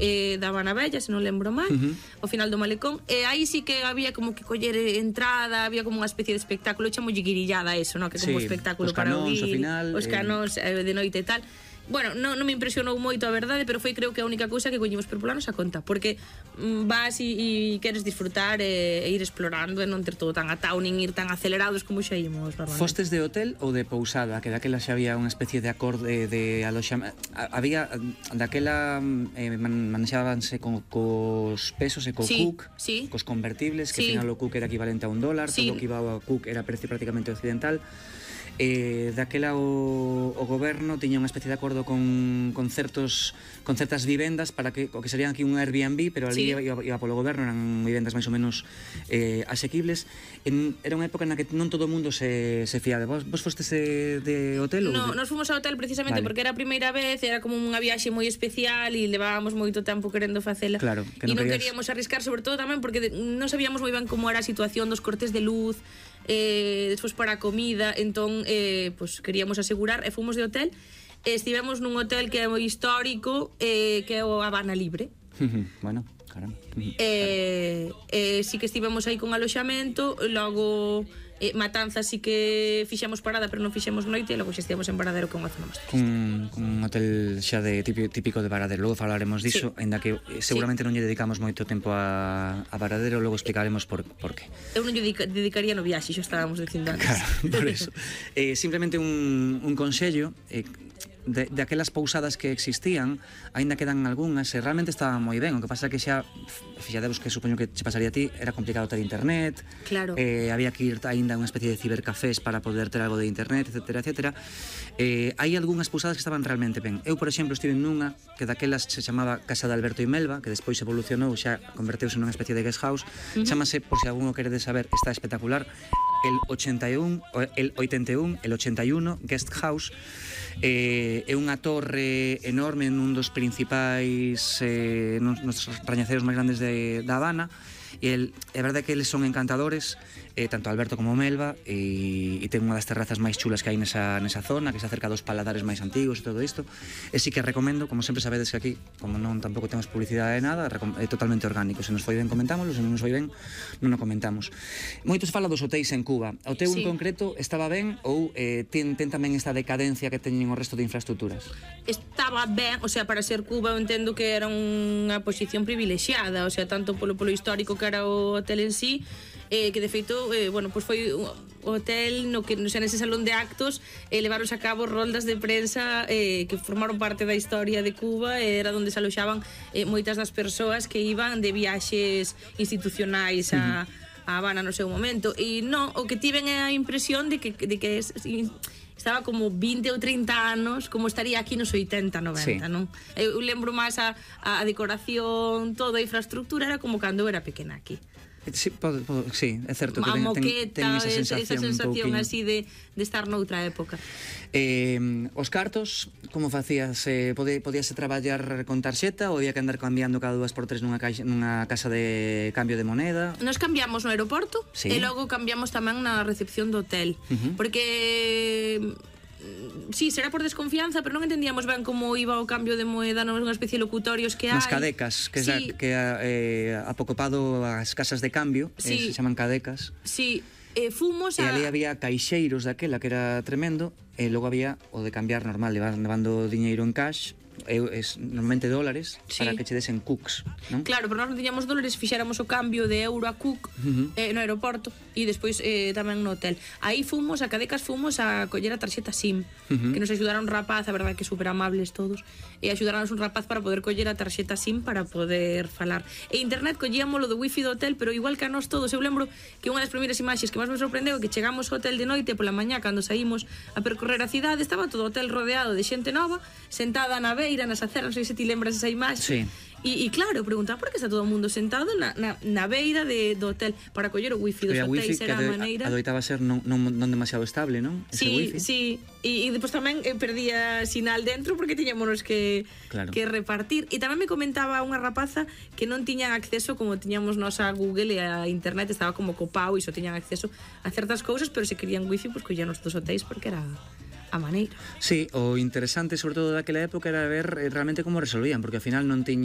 da Habana Bella, se non lembro mal, ao final do malecón, e aí sí que había como que coller entrada, había como unha especie de espectáculo, chamolle guirillada eso, no? Que como espectáculo para oír, os canóns de noite e tal. Bueno, non me impresionou moito a verdade, pero foi creo que a única cousa que coñimos por pola nosa conta, porque vas e queres disfrutar e ir explorando e non ter todo tan atao nin ir tan acelerados como xa imos normalmente. Fostes de hotel ou de pousada? Que daquela xa había unha especie de acorde de aloxamento. Había, daquela manexábanse cos pesos e co cook, cos convertibles, que ao final o cook era equivalente a $1, todo o que iba ao cook era precio prácticamente occidental. Daquela o goberno tiña unha especie de acordo con certas vivendas para que o que serían aquí un Airbnb, pero ali iba polo goberno, eran vivendas máis ou menos asequibles. Era unha época na que non todo o mundo se fiaba. Vos fostes de hotel? No, nos fomos ao hotel precisamente porque era a primeira vez, era como unha viaxe moi especial e levábamos moito tempo querendo facela. Claro, que non queríamos arriscar, sobre todo tamén porque non sabíamos moi ben como era a situación dos cortes de luz, despois para a comida, entón pues queríamos asegurar e fomos de hotel. Estivemos nun hotel que é moi histórico, que é o Habana Libre. Bueno, caramba. Sí que estivemos aí con aloxamento, logo Matanzas sí que fixemos parada, pero non fixemos noite, e logo xa estivemos en Varadero, que é unha zona máis turística. Un hotel xa de típico de Varadero, logo falaremos diso, ainda que seguramente non lle dedicamos moito tempo a Varadero, logo explicaremos por qué. Eu non lle dedicaría no viaxe, xa estábamos dicindo antes. Claro, por eso. Simplemente un consello, de aquelas pousadas que existían, aínda quedan algunhas e realmente estaban moi ben. O que pasa é que xa, fixadevos que supoño que che pasaría a ti, era complicado ter internet, claro. Había que ir aínda a unha especie de cibercafés para poder ter algo de internet, etcétera, etcétera. Hai algunhas pousadas que estaban realmente ben. Eu, por exemplo, estive nunha que daquelas se chamaba Casa de Alberto y Melba, que despois evolucionou, xa converteuse nunha especie de guest house. Chámase, por se alguno queredes saber, está espectacular, el 81 Guest House. É unha torre enorme nun dos principais nos rañaceros máis grandes da Habana, e é verdade que eles son encantadores, tanto Alberto como Melba, e ten unha das terrazas máis chulas que hai nesa zona, que se acerca dos paladares máis antigos e todo isto. E sí que recomendo, como sempre sabedes que aquí, como non tampouco temos publicidade de nada, é totalmente orgánico. Se nos foi ben comentámoslo, se non nos foi ben non o comentamos. Moitos fala dos hotéis en Cuba. O teu en concreto estaba ben ou ten tamén esta decadencia que teñen o resto de infraestructuras? Estaba ben, o sea, para ser Cuba eu entendo que era unha posición privilexiada, o sea, tanto polo histórico que era o hotel en sí, que de feito, bueno, pues foi un hotel no que, o sea, nese salón de actos levaronse a cabo roldas de prensa que formaron parte da historia de Cuba, era onde se aloxaban moitas das persoas que iban de viaxes institucionais a Habana no seu momento. E non, o que tiven é a impresión de que estaba como 20 ou 30 anos, como estaría aquí nos 80, 90, non? Eu lembro máis a decoración, toda a infraestructura era como cando eu era pequena aquí. Sí, sí, é certo que ten esa sensación así de estar noutra época. Os cartos, como facías? Podíase traballar con tarxeta ou había que andar cambiando cada 2x3 nunha casa de cambio de moneda? Nos cambiamos no aeroporto e logo cambiamos tamén na recepción do hotel, porque sí, será por desconfianza, pero non entendíamos ben como iba o cambio de moeda non unha especie de locutorios que hai. Nas cadecas, que apocopado as casas de cambio, se chaman cadecas. Sí, fomos a... E ali había caixeiros daquela que era tremendo, e logo había o de cambiar normal, levando diñeiro en cash, normalmente dólares, para que che desen cooks, non? Claro, pero nós non tiñamos dólares, fixéramos o cambio de euro a cook no aeroporto e despois tamén no hotel. Aí fomos, a Cadecas fomos a coller a tarxeta SIM, que nos axudaron un rapaz, a verdade que super amables todos, e axudaronnos un rapaz para poder coller a tarxeta SIM para poder falar. E internet collíamolo do wifi do hotel, pero igual que a nós todos. Eu lembro que unha das primeiras imaxes que máis me sorprendeu é que chegamos ao hotel de noite pola mañá, cando saímos a percorrer a cidade, estaba todo o hotel rodeado de xente nova, sentada na beira, nas aceras, non sei se ti lembras esa imaxe. E claro, preguntaba por que está todo o mundo sentado na beira do hotel para coller o wifi dos hotéis, era a maneira. Adoitaba ser non demasiado estable, non? Sí, sí. E depois tamén perdía sinal dentro porque tiñámonos que repartir. E tamén me comentaba unha rapaza que non tiñan acceso como tiñamos nós a Google e a internet, estaba como copao e só tiñan acceso a certas cousas, pero se querían wifi, pois collían os dos hotéis porque era a maneira. Sí, o interesante sobre todo daquela época era ver realmente como resolvían, porque ao final non tiña